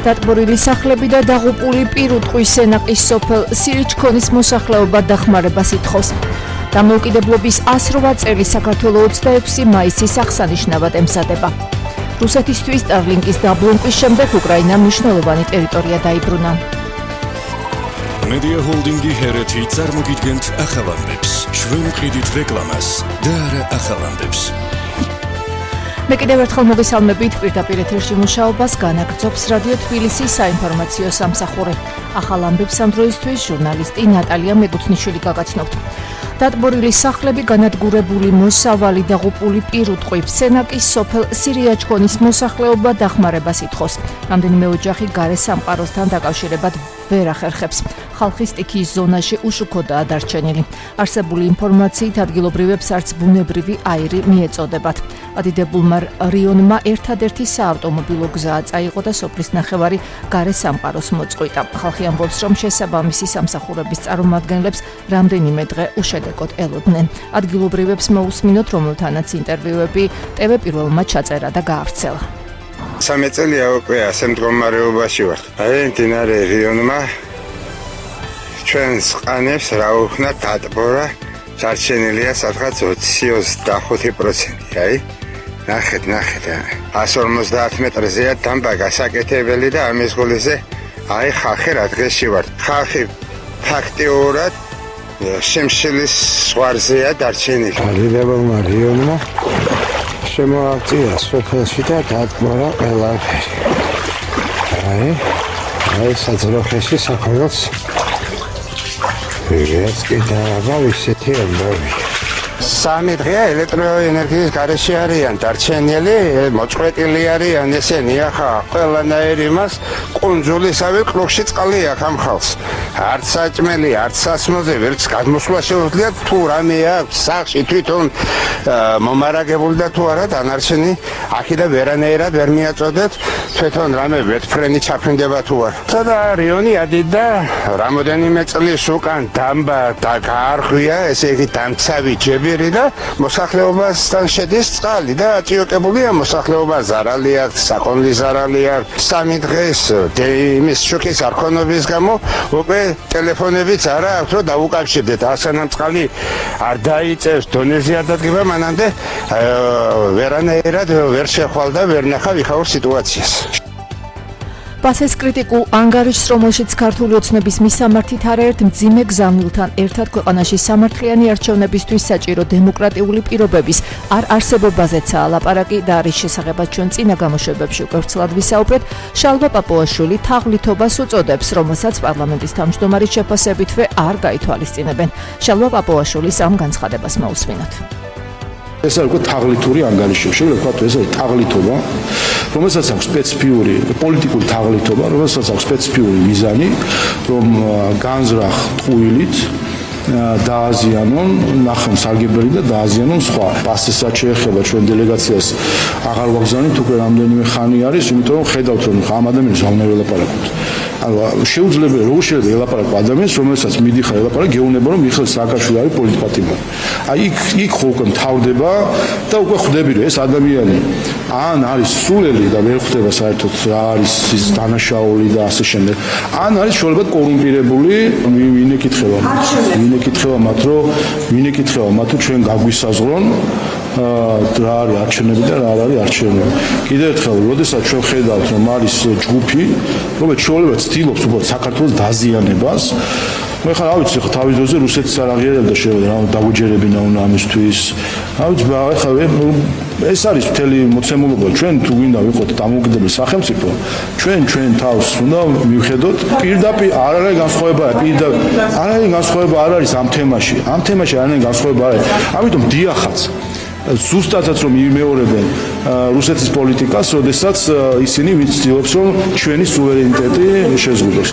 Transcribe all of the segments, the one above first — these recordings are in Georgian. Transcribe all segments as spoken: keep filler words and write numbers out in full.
დატბორილი სახლები და დაღუპული პირუტყვის სენაკის სოფელ სირიჩქონის მოსახლეობა დახმარებას ითხოვს. დამოუკიდებლობის ასრვა წელი საქართველოს ოცდაექვსი მაისის აღსანიშნავად ემზადება. რუსეთისთვის სტარლინკის დაბრუნების შემდეგ უკრაინამ მნიშვნელოვანი ტერიტორია დაიბრუნა. Media Holding-ი ჰერეთი წარმოგიდგენთ ახალამდებს, ჩვენ ვყიდით რეკლამას და არა ახალამდებს. მე კიდევ ერთხელ მოგესალმებით პირდაპირ ეთერში მუშაობას განაგრძობს რადიო თბილისის საინფორმაციო სამსახური. ახალ ამბებს ამ დროისთვის ჟურნალისტი ნატალია მეგუთნიშვილი გაგაცნობთ. დატბორილი სახლები, განადგურებული მოსავალი დაღუპული პირუტყვი, სენაკის სოფელ სირიაჩქონის მოსახლეობა დახმარებას ითხოვს. რამდენიმე ოჯახი გარე სამყაროსთან დაკავშირებად ვერ ახერხებს. ხალხი სტიქიის ზონაში უშუქოდაა დარჩენილი. არსებული ინფორმაციით ადგილობრივებს არც ბუნებრივი აირი მიეწოდებათ. ადიდებულმა რიონმა ერთადერთი საავტომობილო გზა წაიღო და სოფლის ნახევარი გარე სამყაროს მოწყვიტა. ხალხი ამბობს, რომ შესაბამისი სამსახურების წარმომადგენლებს რამდენიმე დღე უშედეგოდ ელოდნენ. ადგილობრივებს მოусმინოთ, რომელთანაც ინტერვიუები ტევ პირველმა ჩაწერა და გაავრცელა. სამი წელია უკვე ასე მდგომარეობაში ვართ. აი მდინარე რიონმა ჩვენს ყანებს რა უხნა დატბორა, დარჩენილია სადღაც ოცი ოცდახუთი პროცენტი. აი ნახეთ, ნახეთ. εκατს ორმოცდაათ მეტრზეა დამბა გასაკეთებელი და ამის გულზე აი ხალხი რა დღეში ვართ. ხალხი ფაქტიურად შემშლის ზღვარზეა დარჩენილი. ალიდებელმა რიონმა შემოაღწია სოფელში და დატბორა ყველაფერი. აი, აი საძროხეში საქართველოს ეს კიდევ ისეთი ამბავი. სამი დღეა ელექტროენერგიის გარეშე არიან დარჩენილი, მოწყვეტილი არიან ესენი ახლა ყველანაირი მას კუნძულისავე კლუბში წყალი აქვს ამ ხალხს. არც საჭმელი, არც სასმოზე ვერც გადმოსვლა შეუძლიათ თუ რამე აქვს სახში თვითონ მომარაგებული და თუ არა დანარჩენი აქედან ვერანაირად ვერ მიაწოდეთ თვითონ რამე ვეთფრენი ჩაფრინდება თუ არა. სადა რიონი ადიდა რამოდენიმე წლის უკან დამბა და გაარღვია, ესე იგი დამცავი ჯებირი და მოსახლეობასთან შედის წყალი და აწიოკებულია მოსახლეობა, ზარალი აქვს, საკონლი ზარალი აქვს. სამი დღეს იმის შოკის არქონობის გამო უკვე ტელეფონებიც არა აქვს რომ დაუკავშირდეთ. ასანამ წყალი არ დაიწევს, დონეზე არ დადგება, მანამდე ვერანაირად ვერ შეხვალ და ვერ ნახავ იქაურ სიტუაციას. პასეს კრიტიკულ ანგარიშს, რომელშიც ქართული ოცნების მისამართით არაერთ მძიმე გზავნილთან ერთად ქვეყანაში სამართლიანი არჩევნებისთვის საჭირო დემოკრატიული პირობების არ არსებობაზეცაა ლაპარაკი და არის შესახებაც ჩვენ წინა გამოშვებებში უკვე ვრცლად ვისაუბრეთ. შალვა პაპუაშვილი თაღლითობას უწოდებს, რომელსაც პარლამენტის თავმჯდომარის შეფასებითვე არ გაითვალისწინებენ. შალვა პაპუაშვილის ამ განცხადებას მოусმინოთ. ეს არის უკვე თაღლითური ანგარიში, შეიძლება ვთქვათ, ეს არის თაღლითობა, რომელსაც აქვს სპეციფიური პოლიტიკური თაღლითობა, რომელსაც აქვს სპეციფიური მიზანი, რომ განზრახ ტყუილით დააზიანონ ნახევარსარგებელი და დააზიანონ სხვა. პასესაც შეეხება ჩვენ დელეგაციას აღარ ვაგზავნით, უკვე რამდენიმე ხანი არის, იმიტომ რომ ხედავთ რომ ამ ადამიანს არ უნდა ველაპარაკოთ. ანუ შეუძლებელი როგორ შეიძლება ელაპარაკო ადამიანს, რომელსაც მიდიხარ ელაპარაკ, გეუბნება რომ მიხეილ სააკაშვილი არის პოლიტპატიმარი. აი იქ იქ ხო უკვე მთავრდება და უკვე ხვდები რომ ეს ადამიანი ან არის სულელი და ვერ ხვდება საერთოდ რა არის ის დანაშაული და ასე შემდეგ. ან არის შეიძლება კორუმპირებული, ვინ ეკითხება მათ, ვინ ეკითხება მათ, რომ ვინ ეკითხება მათ, რომ ჩვენ გაგვისაზღვრონ რა არის არჩევნები და რა არ არის არჩევნები. კიდევ ერთხელ, როდესაც ჩვენ ხედავთ, რომ არის ჯგუფი, რომელიც შეიძლება ცდილობს უბრალოდ საქართველოს დაზიანებას, მე ხარ ავიცი ხა თავის დროზე რუსეთის არ აღიარებდა შეიძლება რა დაგვიჯერებინა უნდა ამისთვის. ავიცი ხა ეს არის მთელი მოცემულობა. ჩვენ თუ გვინდა ვიყოთ დამოუკიდებელი სახელმწიფო, ჩვენ ჩვენ თავს უნდა მივხედოთ პირდაპირ არ არის განსხვავება, პირდაპირ არ არის განსხვავება არ არის ამ თემაში. ამ თემაში არ არის განსხვავება არ არის. ამიტომ დიახაც ზუსტადაც რომ იმეორებენ რუსეთის პოლიტიკას, როდესაც ისინი ვიცდილობს რომ ჩვენი სუვერენიტეტი შეზღუდოს.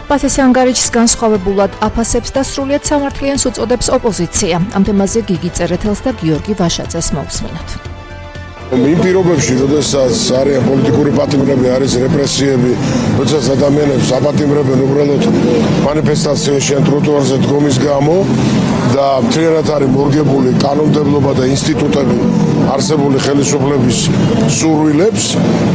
პასეს ანგარიშს განსხვავებულად აფასებს და სრულიად სამართლიანს უწოდებს ოპოზიცია. ამ თემაზე გიგი წერეთელს და გიორგი ვაშაძეს მოусმინოთ. იმ პირობებში, როდესაც არიან პოლიტიკური პატიმრები, არის რეპრესიები, როდესაც ადამიანებს აპატიმრებენ უბრალოდ მანიფესტაციაში ან ტროტუარზე დგომის გამო და მთლიანად არის მორგებული კანონმდებლობა და ინსტიტუტები არსებული ხელისუფლების სურვილებს,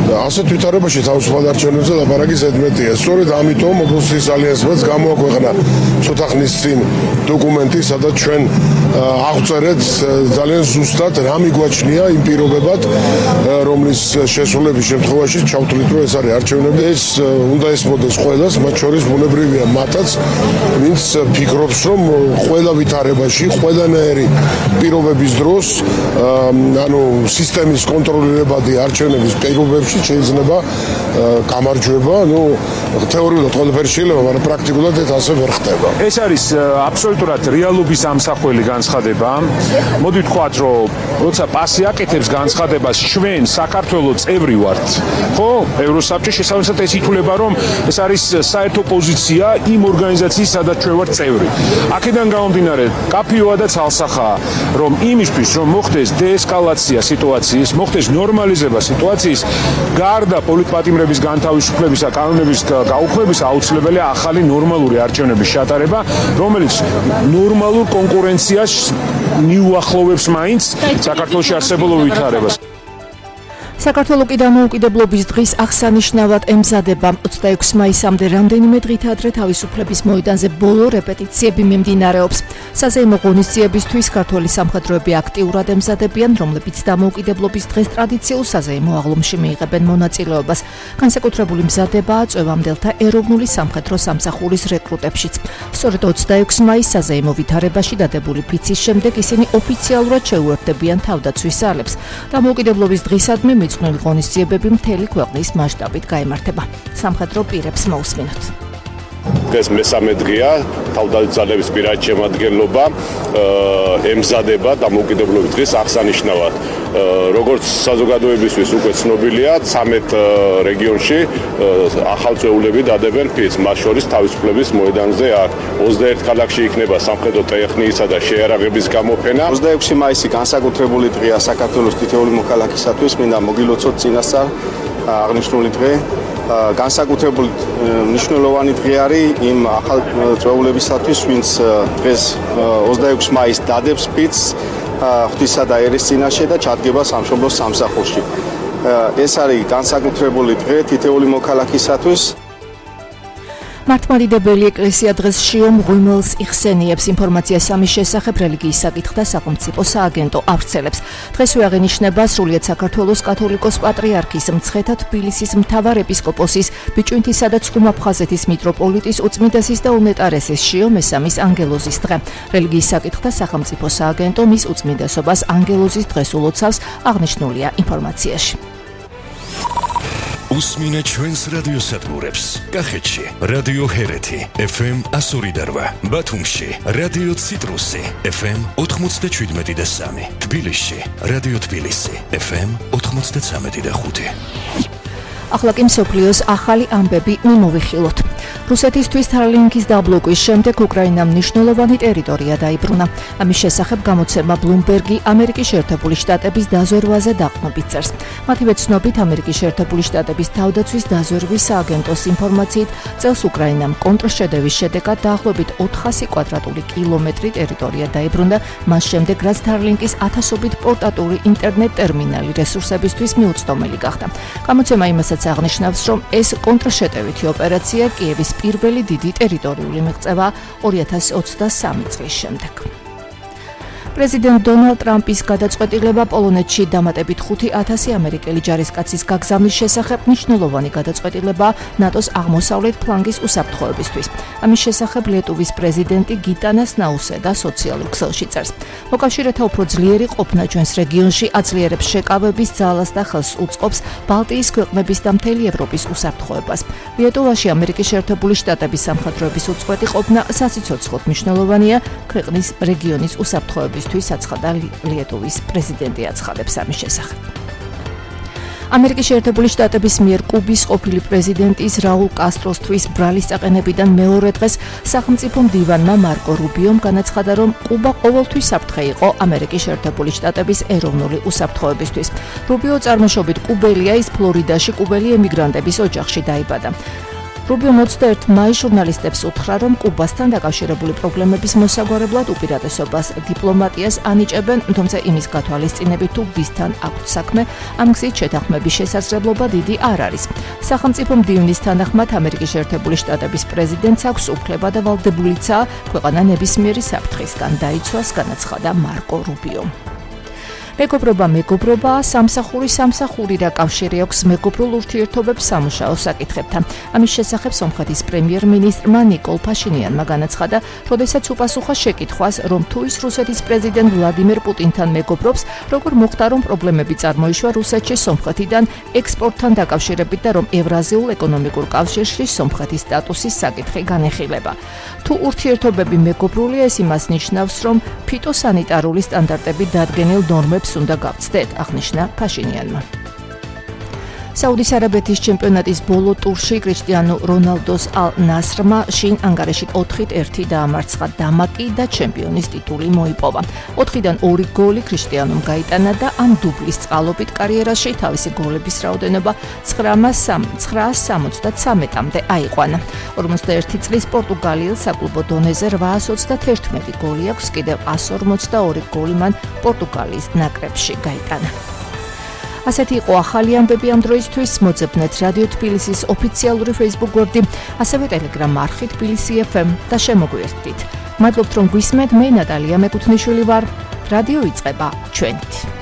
ასეთ ვითარებაში თავისუფალ არჩევნებზე ლაპარაკი ზედმეტია. სწორედ ამიტომ ოპოზიციის ალიანსმაც გამოაქვეყნა ცოტა ხნის წინ დოკუმენტი, სადაც ჩვენ აღვწერეთ ძალიან ზუსტად რა მიგვაჩნია იმ პირობებად, რომლის შესრულების შემთხვევაში ჩავთვლით, რომ ეს არის არჩევნები. ეს უნდა ესმოდეს ყველას, მათ შორის ბუნებრივია მათაც, ვინც ფიქრობს, რომ ყველა ვითარებაში, ყველანაირი პირობების დროს, ანუ სისტემის კონტროლირებადი არჩევნების პირობებში შეიძლება გამარჯვება, ну, თეორიულად ყველაფერი შეიძლება, მაგრამ პრაქტიკულად ეს ასე ვერ ხდება. ეს არის აბსოლუტურად რეალობის ამსახველი განცხადება. მოდი ვთქვათ, რომ როცა პასი აკეთებს განცხადებას, ჩვენ საქართველოს წევრი ვართ, ხო? ევროსაბჭოს შესაბამისად ეს ითვლება, რომ ეს არის საერთო პოზიცია იმ ორგანიზაციის, სადაც ჩვენ ვართ წევრი. აქედან გამომდინარე, კაფეოა და ცალსახაა, რომ იმისთვის, რომ მოხდეს დეესკალაცია სიტუაციის, მოხდეს ნორმალიზება სიტუაციის, გარდა პოლიტპატიმრების განთავისუფლების და კანონების გაუქმების აუცილებელია ახალი ნორმალური არჩევნების ჩატარება, რომელიც ნორმალურ კონკურენციას მიუახლოვებს მაინც საქართველოში არსებულ ვითარებას. საქართველოს დამოუკიდებლობის დღის აღსანიშნავად ემზადება ოცდაექვსი მაისამდე რამდენიმე დღით ადრე თავისუფლების მოედანზე ბოლო რეპეტიციები მიმდინარეობს. საზეიმო ღონისძიებისთვის ქართველი სამხედროები აქტიურად ემზადებიან, რომლებიც დამოუკიდებლობის დღეს ტრადიციულ საზეიმო აღლუმში მიიღებენ მონაწილეობას. განსაკუთრებული მზადებაა წვევამდელთა ეროვნული სამხედრო სამსახურის რეკრუტებშიც. სწორედ ოცდაექვსი მაისს საზეიმო ვითარებაში დადებული ფიცის შემდეგ ისინი ოფიციალურად შეუერთდებიან თავდაცვის ძალებს. დამოუკიდებლობის დღისადმი მიძღვნილი ღონისძიებები მთელი ქვეყნის მასშტაბით გაიმართება. სამხედრო პირებს მოусმინოთ. დღეს მესამე დღეა, თავდაცვის ძალების პირადი შემადგენლობა ემზადება დამოუკიდებლობის დღის აღსანიშნავად. როგორც საზოგადოებისთვის უკვე ცნობილია, ცამეტ რეგიონში ახალწეულები დადებენ ფიცს, მათ შორის თავისუფლების მოედანზე აქ. ოცდაერთ ქალაქში იქნება სამხედრო ტექნიკისა და შეიარაღების გამოფენა. ოცდაექვსი მაისი განსაკუთრებული დღეა საქართველოს თითოეული მოქალაქისათვის, მინდა მოგილოცოთ წინასწარ აღნიშნული დღე. განსაკუთრებული მნიშვნელოვანი დღე არის იმ ახალ წვეულებისათვის, ვინც დღეს ოცდაექვსი მაისს დადებს ფიცს ღვთისა და ერის წინაშე და ჩადგება სამშობლოს სამსახურში. ეს არის განსაკუთრებული დღე თითოეული მოქალაქისათვის. მართლმადიდებელი ეკლესია დღეს შიო მღვიმელს იხსენიებს. ინფორმაციას ამის შესახებ რელიგიის საკითხთა სახელმწიფო სააგენტო ავრცელებს. დღესვე აღინიშნება სრულიად საქართველოს კათოლიკოს პატრიარქის მცხეთა თბილისის მთავარ ეპისკოპოსის ბიჭვინთისა და ცხუმაფხაზეთის მიტროპოლიტის უწმიდესის და უნეტარესის შიო მესამის ანგელოზის დღე. რელიგიის საკითხთა სახელმწიფო სააგენტო მის უწმიდესობას ანგელოზის დღეს ულოცავს, აღნიშნულია ინფორმაციაში. უსმინეთ ჩვენს რადიოსადგურებს. კახეთში რადიო ჰერეთი ეფ ემ εκατო ორი და რვა, ბათუმში რადიო ციტრუსი ეფ ემ ოთხმოცდაშვიდმეტი და სამი, თბილისში რადიო თბილისი ეფ ემ ოთხმოცდაცამეტი და ხუთი. ახლა კი მსოფლიოს ახალი ამბები მიმოვიხილოთ. რუსეთისთვის თარლინკის დაბლოკვის შემდეგ უკრაინამ მნიშვნელოვანი ტერიტორია დაიბრუნა. ამის შესახებ გამოცემა ბლუმბერგი ამერიკის შეერთებული შტატების დაზვერვაზე დაყრდნობით წერს. მათივე ცნობით, ამერიკის შეერთებული შტატების თავდაცვის დაზვერვის სააგენტოს ინფორმაციით, წელს უკრაინამ კონტრშედევის შედეგად დაახლოებით ოთხასი კვადრატული კილომეტრი ტერიტორია დაიბრუნდა, მას შემდეგ რაც თარლინკის ათასობით პორტატული ინტერნეტ ტერმინალი რესურსებისთვის მიუწვდომელი გახდა. გამოცემა იმასაც აღნიშნავს, რომ ეს კონტრშეტევითი ოპერაცია კიევის პირველი დიდი ტერიტორიული მიღწევა ორი ათასი ოცდასამი წლის შემდეგ. პრეზიდენტ დონალდ ტრამპის გადაწყვეტილება პოლონეთში დამატებით ხუთი ათასი ამერიკელი ჯარისკაცის გაგზავნის შესახებ მნიშვნელოვანი გადაწყვეტილება ნატოს აღმოსავლეთ ფლანგის უსაფრთხოებისთვის. ამის შესახებ ლიტვის პრეზიდენტი გიტანას ნაუსედა სოციალურ ქსელში წერს. მოკავშირეთა უფრო ძლიერი ყოფნა ჩვენს რეგიონში აძლიერებს შეკავების ძალას და ხელს უწყობს ბალტიის ქვეყნების და მთელი ევროპის უსაფრთხოებას. ლიტვაში ამერიკის შეერთებული შტატების სამხედროების უწყვეტი ყოფნა სასიცოცხლოდ მნიშვნელოვანია ქვეყნის რეგიონის უსაფრთხოების აცხადა ლიტვის პრეზიდენტი აცხადებს ამის შესახებ. ამერიკის შეერთებული შტატების მიერ კუბის ყოფილი პრეზიდენტის რაულ კასტროსთვის ბრალის წაყენებიდან მეორე დღეს სახელმწიფო მდივანმა მარკო რუბიომ განაცხადა, რომ კუბა ყოველთვის საფრთხე იყო ამერიკის შეერთებული შტატების ეროვნული უსაფრთხოებისთვის. რუბიო წარმოშობით კუბელია, ის ფლორიდაში კუბელი ემიგრანტების ოჯახში დაიბადა. რუბიო ოცდაერთი მაისს ჟურნალისტებს უთხრა, რომ კუბასთან დაკავშირებული პრობლემების მოსაგვარებლად უპირატესობას დიპლომატიას ანიჭებენ, თუმცა იმის გათვალისწინებით თუ ვისთან აქვთ საქმე, ამ გზით შეთანხმების შესაძლებლობა დიდი არ არის. სახელმწიფო მდივნის თანახმად ამერიკის შეერთებული შტატების პრეზიდენტს აქვს უფლება და ვალდებულიცაა ქვეყანა ნებისმიერი საფრთხისგან დაიცვას, განაცხადა მარკო რუბიო. მეგობრობა მეგობრობა სამსახური სამსახური რა კავშირი აქვს მეგობრულ ურთიერთობებს სამუშაო საკითხებთან. ამის შესახებ სომხეთის პრემიერ-მინისტრმა ნიკოლ ფაშინიანმა განაცხადა, როდესაც უპასუხა შეკითხვას, რომ თუ ის რუსეთის პრეზიდენტ ვლადიმერ პუტინთან მეგობრობს, როგორ მოხდა, რომ პრობლემები წარმოიშვა რუსეთში სომხეთიდან ექსპორტთან დაკავშირებით და რომ ევრაზიულ ეკონომიკურ კავშირში სომხეთის სტატუსის საკითხი განეხილება. თუ ურთიერთობები მეგობრულია, ეს იმას ნიშნავს, რომ ფიტოსანიტარული სტანდარტები დადგენილ ნორმებს უნდა გავცდეთ, აღნიშნა ფაშინიანმა. საუდის არაბეთის ჩემპიონატის ბოლო ტურში კრიშტიანო რონალდოს ალ-ნასრმა შინ ანგარიში ოთხით ერთი დაამარცხა დამაკი და ჩემპიონის ტიტული მოიპოვა. ოთხიდან ორი გოლი კრიშტიანომ გაიტანა და ამ დუბლის წყალობით კარიერაში თავისი გოლების რაოდენობა ცხრაას სამოცდათრამეტამდე აიყვანა. ორმოცდაერთი წლის პორტუგალიელ საკლუბო დონეზე რვაას ოცდაათერთმეტი გოლი აქვს, კიდევ ას ორმოცდაორი გოლი მან პორტუგალიის ნაკრებში გაიტანა. ასეთი იყო ახალი ამბები ამ დროისთვის. მოძებნეთ რადიო თბილისის ოფიციალური Facebook გვერდი, ასევე Telegram არხი თბილისი ეფ ემ და შემოგვიერთდით. მადლობთ რომ გვისმენთ, მე ნატალია მეკუთვნიშვილი ვარ. რადიო იწყება ჩვენით.